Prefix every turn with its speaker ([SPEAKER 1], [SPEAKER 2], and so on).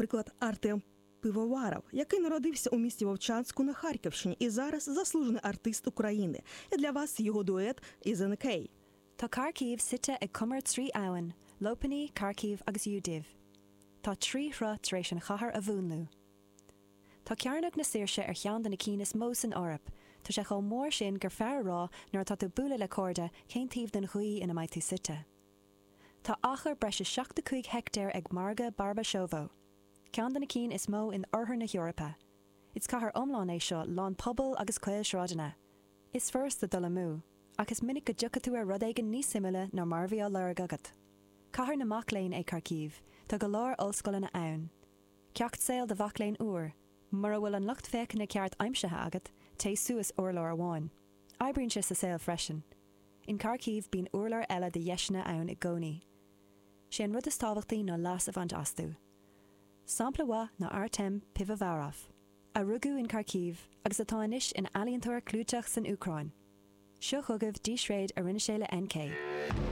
[SPEAKER 1] Наприклад, Артем Пивоваров, який народився у місті Вовчанську на Харківщині і зараз заслужений артист України. І для вас його дует із НК.
[SPEAKER 2] Tá Kharkiv suite ag cumar 3 abhainn, Lopani, Kharkiv agus Yudiv. Tá 3 shruth tar éis an chathair a mhúnlú. Tá Cearnóg na Saoirse ar cheann de na cinn is mó san Eoraip. Tá sé chomh mór sin gur fearr a rá nuair atá tú ag bualadh le cairde cén taobh den ghaoth ina mbeidh tú suite. Tá achar breis is 75 heicteár ag Margadh Barbashovo, ceann de na cinn is mó in oirthear na hEorpa. Is cathair iomlán é seo lán pobal agus caolsráideanna. Is furasta dul amú, ach is minic go dtiocfaidh tú ar rud éigin níos suimiúla ná mar a bhí á lorg agat. Cathair na mac léinn é Kharkiv, tá go leor ollscoileanna ann. Ceacht saoil do mhac léinn úr, mura bhfuil an lucht féachana ceart aimsithe agat, téigh suas urlár amháin. Oibríonn sé sa saol freisin. In Kharkiv bíonn urlár eile de dheiseanna ann i gcónaí. Sé an rud is tábhachtaí ná leas a bhaint astu. Sampla mhaith ná Artem Pivovarov, a rugadh in Kharkiv agus atá anois ina ealaíontóir clúiteach san Úcráin. Seo chugaibh dísréad a rinne sé le NK.